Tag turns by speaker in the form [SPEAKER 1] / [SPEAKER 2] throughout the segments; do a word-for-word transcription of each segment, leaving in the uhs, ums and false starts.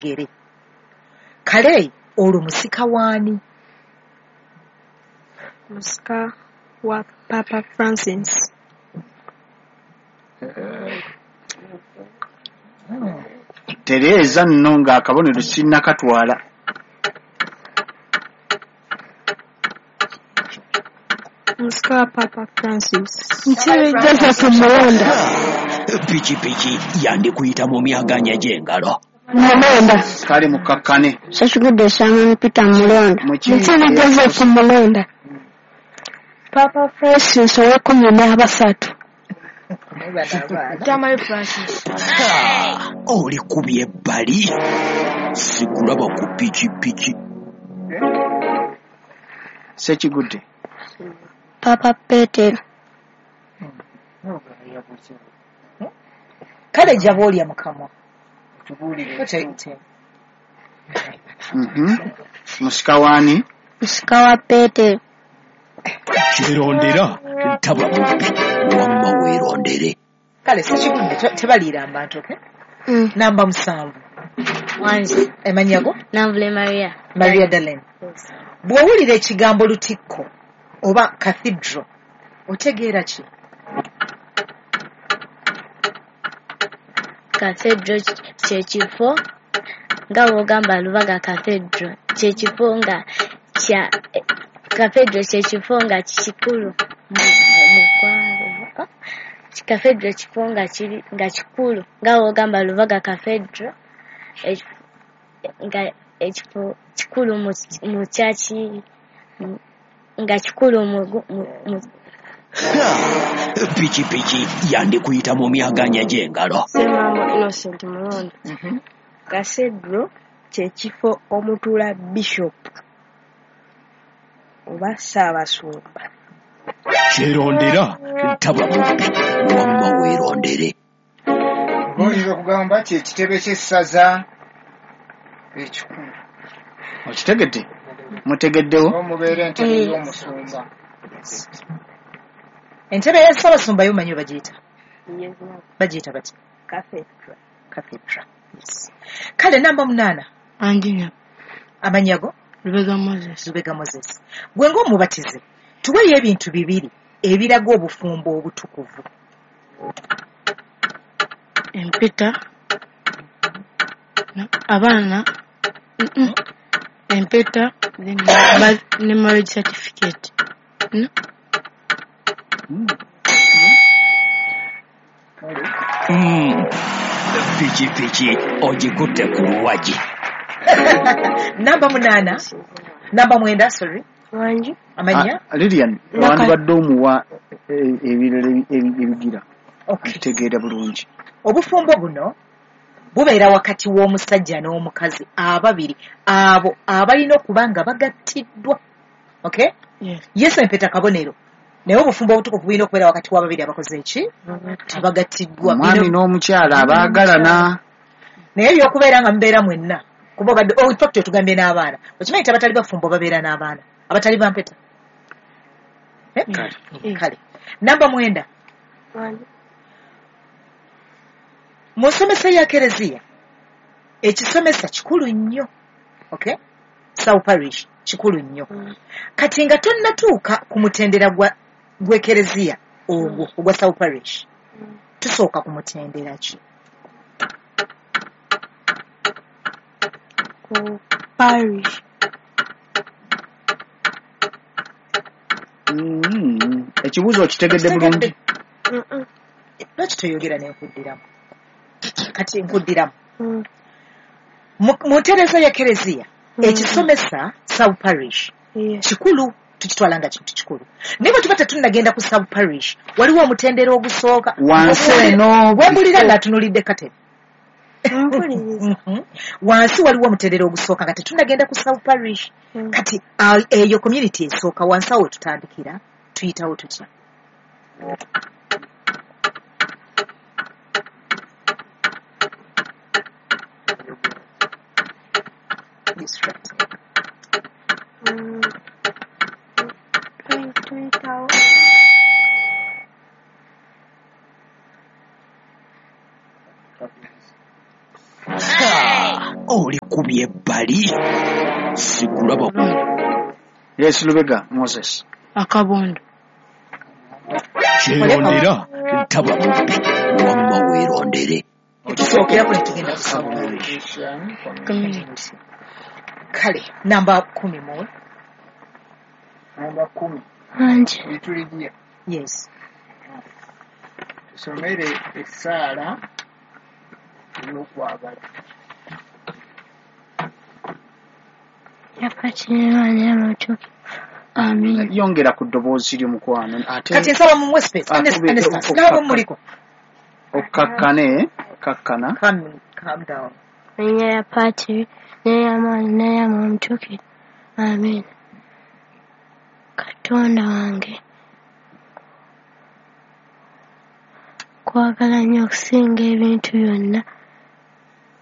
[SPEAKER 1] Gere. Kale olwo musika waani?
[SPEAKER 2] Musika wa Papa Francis.
[SPEAKER 3] Tereeza nno ng'akabonero sinnakatwala.
[SPEAKER 2] Musika wa Papa Francis.
[SPEAKER 4] Mukiibi Joseph Mulonda.
[SPEAKER 5] Pikipiki yandikuyita mu myaganya gy'engalo.
[SPEAKER 4] Mulonda.
[SPEAKER 3] Kale mukakkane.
[SPEAKER 4] Ssekigudde Simon Peter Mulonda. Mukiibi Joseph Mulonda. Papa Francis ow'ekkumi n'abasatu.
[SPEAKER 2] Tamale Francis.
[SPEAKER 5] Olikubye ebbali. Sikulaba ku pikipiki.
[SPEAKER 3] Ssekigudde.
[SPEAKER 4] Papa Petero.
[SPEAKER 1] Kale jaba olya mu kamwa.
[SPEAKER 3] Musika waani?
[SPEAKER 4] Musika wa Petero.
[SPEAKER 5] Kyerondera taba mubbi wamma weerondere.
[SPEAKER 1] Kale Ssekigudde tebaliira abantu, okay? Mm. Namba musanvu.
[SPEAKER 6] Wangi.
[SPEAKER 1] Amannya go?
[SPEAKER 6] Nanvule Maria.
[SPEAKER 1] Maria Darlene.
[SPEAKER 6] Yes.
[SPEAKER 1] Bw'owulira ekigambo lutikko oba cathedral otegeera ki?
[SPEAKER 6] Cathedral kye kifo nga bw'ogamba Lubaga Cathedral kye kifo nga kya cathedral kye kifo nga kikulu mu ggwanga. Cathedral kifo nga kiri nga kikulu nga bw'ogamba Lubaga Cathedral nga ekifo kikulu mu kyaki nga kikulu mu
[SPEAKER 5] Pikipiki yandikuyita mu myaganya gy'engalo.
[SPEAKER 2] Ssemambo Innocent Mulonda. Cathedral kye kifo omutuula bishop oba Ssaabasumba.
[SPEAKER 5] Kyerondera taba mubbi wamma weerondere.
[SPEAKER 7] Oyinza okugamba kye kitebe ky'essaza ekikulu.
[SPEAKER 3] Okitegedde? Mutegeddewo?
[SPEAKER 7] Omubeera entebe y'omusumba.
[SPEAKER 1] Entebe ya Ssaabasumba yo omanyi bagiyita? Bagiyita bati?
[SPEAKER 2] Cathedral.
[SPEAKER 1] Cathedral. Yes. Kale namba munaana.
[SPEAKER 4] Anginya.
[SPEAKER 1] Amannya go?
[SPEAKER 4] Lubega Moses.
[SPEAKER 1] Lubega Moses. Gwe ng'omubatize, tuweeyo ebintu bibiri ebiraga obufumbo obutukuvu.
[SPEAKER 4] Empeta, abaana, empeta ne marriage certificate.
[SPEAKER 5] Mm. Pikipiki ogikutte ku luwagi.
[SPEAKER 1] Namba munaana, namba mwenda, sorry.
[SPEAKER 2] Wangi.
[SPEAKER 1] Amannya?
[SPEAKER 3] Lilian, wandibadde omuwa ebirala ebigira. Okitegeera bulungi.
[SPEAKER 1] Obufumbo buno bubeera wakati w'omusajja n'omukazi ababiri abo abalina okuba nga bagattiddwa. Okay?
[SPEAKER 4] Yes.
[SPEAKER 1] Yesu empeta kabonero. Naye obufumbo obutukuvu bulina okubeera wakati w'ababiri abakoze eki? Abagattiddwa.
[SPEAKER 3] Omwami n'omukyala abaagalana.
[SPEAKER 1] Naye ebyokubeera nga mubeera mwenna. Kuba obadde, oh, in fact otugambye n'abaana. Okimanyi nti abatali bafumbo babeera n'abaana. Abatali bampeta. Eh?
[SPEAKER 3] Kale.
[SPEAKER 1] Kale. Namba mwenda. Mu nsomesa ya Kereziya, ekisomesa kikulu nnyo. Okay? South Parish kikulu nnyo. Kati nga tonnatuuka ku mutendera gwa gw'Ekereziya ogwo ogwa South Parish, tusooka ku mutendera ki?
[SPEAKER 2] Ku parish.
[SPEAKER 3] Mm. Ekibuuzo okitegedde bulungi?
[SPEAKER 1] Lwaki toyogera ne nkuddiramu? Kati nkuddiramu. Mu ntereeza ya Kereziya, ekisomesa South Parish kikulu, tukitwala nga kintu kikulu. Naye bwe tuba tetunnagenda ku South Parish, waliwo omutendera ogusooka.
[SPEAKER 3] Wansi eno
[SPEAKER 1] wembulira ng'atunulidde katebe. Wansi waliwo omutendera ogusooka nga tetunnagenda ku South Parish. Kati eyo community esooka wansi awo tutandikira, tuyitawo tutya?
[SPEAKER 2] Tuyitawo.
[SPEAKER 5] Olikubye ebbali. Sikulaba.
[SPEAKER 3] Yes, Lubega Moses.
[SPEAKER 4] Akabondo.
[SPEAKER 5] Kyerondera taba mubbi wamma weerondere.
[SPEAKER 1] Etusookerako ne tugenda ku sub parish.
[SPEAKER 4] Community.
[SPEAKER 1] Kale namba kumi mu
[SPEAKER 7] Namba kumi.
[SPEAKER 6] Angi.
[SPEAKER 7] Lituligiya.
[SPEAKER 1] Yes.
[SPEAKER 7] Tusomere essaala ey'okwagala.
[SPEAKER 6] Amin.
[SPEAKER 3] Yongera ku ddoboozi lyo mukwano. Ate
[SPEAKER 1] kati nsaba mumuwe space. Ernest, nabo muliko.
[SPEAKER 3] Okkakkane, kakkana.
[SPEAKER 1] Calm, calm down.
[SPEAKER 6] Erinnya lya Patiri n'erya Mwana n'erya Mwoyo Mutuukirivu. Amin. Katonda wange, nkwagala nnyo okusinga ebintu byonna,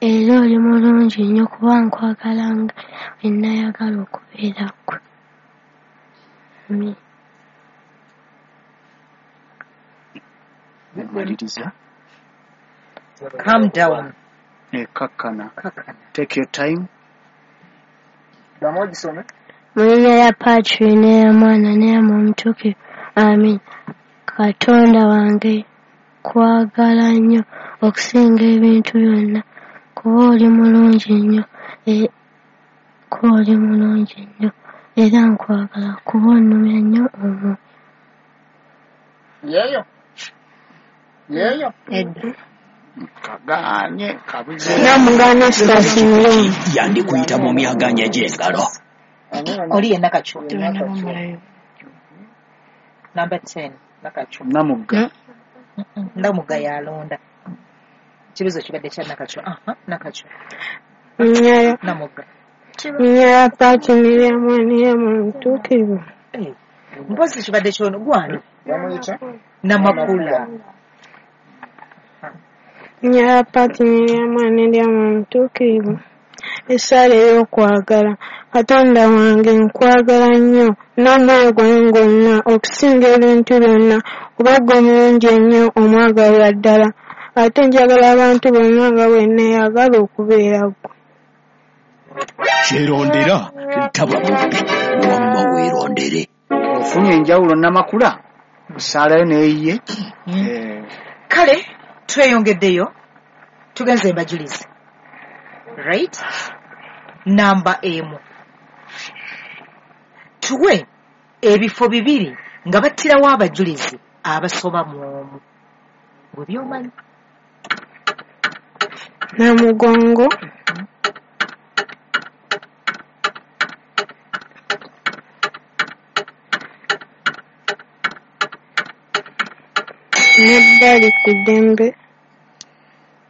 [SPEAKER 6] era oli mulungi nnyo kuba nkwagala nga bwe nayagala okubeera ggwe. Amin.
[SPEAKER 3] Maliriza.
[SPEAKER 1] Calm down.
[SPEAKER 3] Eh, kakkana.
[SPEAKER 1] Kakkana.
[SPEAKER 3] Take your time.
[SPEAKER 7] Ddamu ogisome.
[SPEAKER 6] Mu linnya lya Patiri n'erya Mwana n'erya Mwoyo Mutuukirivu. Amin. Katonda wange, nkwagala nnyo okusinga ebintu byonna, kuba oli mulungi nnyo, kuba oli mulungi nnyo, era nkwagala kuba onnumya nnyo omwoyo.
[SPEAKER 7] Yeeyo. Yeeyo.
[SPEAKER 4] Edda.
[SPEAKER 3] Kaganye kabuze.
[SPEAKER 2] Namugana Stasi.
[SPEAKER 5] Yandikuyita mu myaganya gy'engalo.
[SPEAKER 1] Oli ye Nakachwa.
[SPEAKER 4] Tebannabamalayo.
[SPEAKER 1] Number ten, Nakachwa.
[SPEAKER 3] Namugga.
[SPEAKER 1] Namugga yalonda. Ekibuuzo kibadde kya Nakachwa. Aha, Nakachwa. Namugga.
[SPEAKER 2] Linnya lya Patiri n'erya Mwana n'erya Mwoyo Mutuukirivu.
[SPEAKER 1] Mpozi kibadde kyono gwani?
[SPEAKER 7] Bamuyita?
[SPEAKER 1] Namakula.
[SPEAKER 2] Linnya lya Patiri n'erya Mwana n'erya Mwoyo Mutuukirivu. Essaala ey'okwagala. Katonda wange, nkwagala nnyo n'omwoyo gwange gwonna okusinga ebintu byonna, kuba ggwe mulungi ennyo omwagalwa ddala, ate njagala abantu bonna nga bwe nneeyagala okubeera ggwe.
[SPEAKER 5] Kyerondera taba mubbi wamma weerondere.
[SPEAKER 3] Ofunye enjawulo Namakula essaalayo n'eyiye.
[SPEAKER 1] Kale tweyongeddeyo tugenze embajulizi. Right? Namba emu. Tuwe ebifo bibiri nga battirawo abajulizi abasoba mu omu. Gwe by'omanyi.
[SPEAKER 2] Namugongo. Nebbali ku ddembe.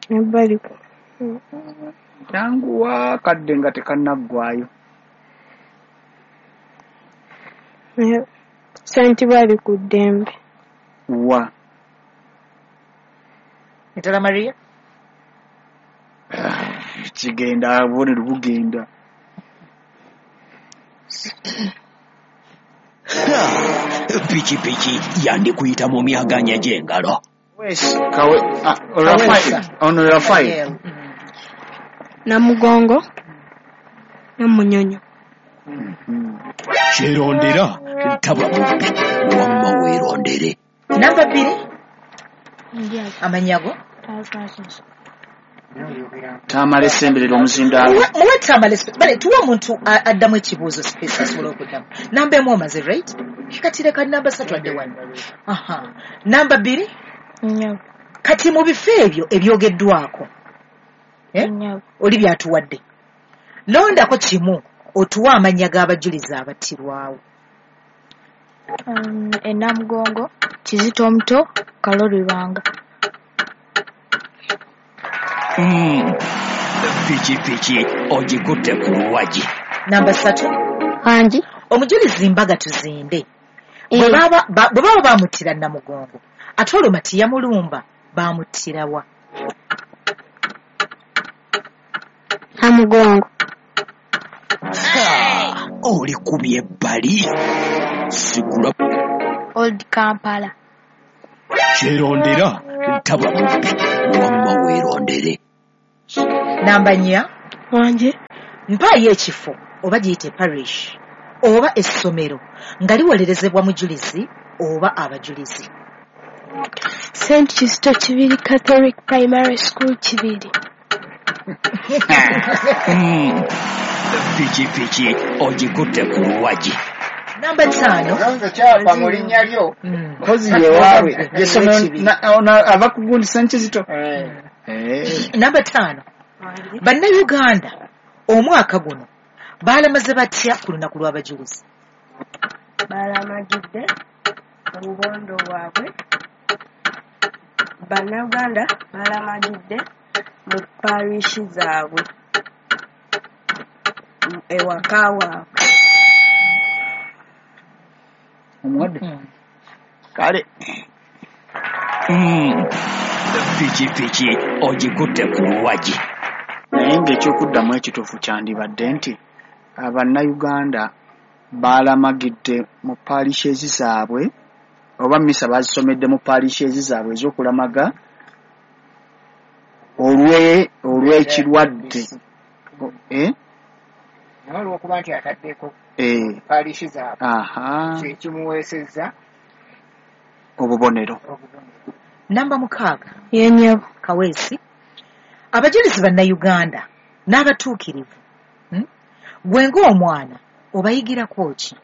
[SPEAKER 2] Nebbali ku
[SPEAKER 3] Yanguwa kadde nga tekannaggwaayo.
[SPEAKER 2] Sentibali ku ddembe.
[SPEAKER 3] Wa.
[SPEAKER 1] Mitala Maria?
[SPEAKER 3] Kigenda obubonero bugenda.
[SPEAKER 5] Pikipiki yandikuyita mu myaganya gy'engalo.
[SPEAKER 3] Kawe, ah, Rafael, ono Rafael.
[SPEAKER 4] Namugongo Namunyonyo.
[SPEAKER 5] Kyerondera taba mubbi wamma weerondere.
[SPEAKER 1] Namba bbiri amannya go
[SPEAKER 3] Tamale Ssemberera omuzindaalo.
[SPEAKER 1] Muwe Tamale, bale tuwe omuntu addamu ekibuuzo space asobola okuddamu. Namba emu omaze, right? Kati leka namba ssatu adde wano. Aha. Namba bbiri kati mu bifo ebyo ebyogeddwako eh? Oli byatuwadde. Londako kimu otuwe amannya g'abajulizi abattirwawo.
[SPEAKER 6] Um, e Namugongo, Kizito Omuto, Kaloli Lwanga.
[SPEAKER 5] Mm. Pikipiki ogikutte ku luwagi.
[SPEAKER 1] Namba ssatu.
[SPEAKER 6] Angi.
[SPEAKER 1] Omujulizi Mbaga Tuzinde. Bwe baba bwe bamuttira Namugongo, ate olwo Mati yamulumba bamuttira wa?
[SPEAKER 6] Namugongo.
[SPEAKER 5] Olikubye ebbali. Sigula.
[SPEAKER 6] Old Kampala.
[SPEAKER 5] Kyerondera taba mubbi wamma weerondere.
[SPEAKER 1] Namba nnya.
[SPEAKER 2] Wangi.
[SPEAKER 1] Mpaayo ekifo oba giyite parish oba essomero nga liwolerezebwa mujulizi oba abajulizi.
[SPEAKER 2] Saint Kizito Kibiri Catholic Primary School Kibiri.
[SPEAKER 5] Mm. Pikipiki ogikutte ku luwagi.
[SPEAKER 1] Namba ttaano.
[SPEAKER 7] Olonze kyapa mu linnya lyo.
[SPEAKER 1] Mm.
[SPEAKER 3] Mpozi yewaabwe gyessomero
[SPEAKER 1] Ekibiri.
[SPEAKER 3] na- ono ava ku gundi Saint Kizito.
[SPEAKER 7] Eh.
[SPEAKER 3] Eh.
[SPEAKER 1] Namba ttaano. Bannayuganda omwaka guno baalamaze batya ku lunaku lw'abajulizi?
[SPEAKER 8] Balamagidde obubondo bwabwe. Bannayuganda balamagidde mu parish zaabwe ewaka waabwe.
[SPEAKER 3] Omuwadde
[SPEAKER 1] Mm.
[SPEAKER 3] kale.
[SPEAKER 5] Mm. Pikipiki ogikutte ku luwagi.
[SPEAKER 3] Naye ng'ekyokuddamu ekituufu kyandibadde nti abannayuganda baalamagidde mu parishes zaabwe oba misa baazisomedde mu parishes zaabwe ez'okulamaga olwe olw'ekirwadde. Eh?
[SPEAKER 7] Naye olw'okuba nti ataddeko
[SPEAKER 3] Eh,
[SPEAKER 7] parish zaabwe
[SPEAKER 3] aha
[SPEAKER 7] kyekimuweesezza
[SPEAKER 3] obubonero.
[SPEAKER 7] Obubonero.
[SPEAKER 1] Namba mukaaga.
[SPEAKER 2] Ye nnyabo.
[SPEAKER 1] Kaweesi. Abajulizi bannayuganda n'abatuukirivu, hmm? Gwe ng'omwana obayigirako ki?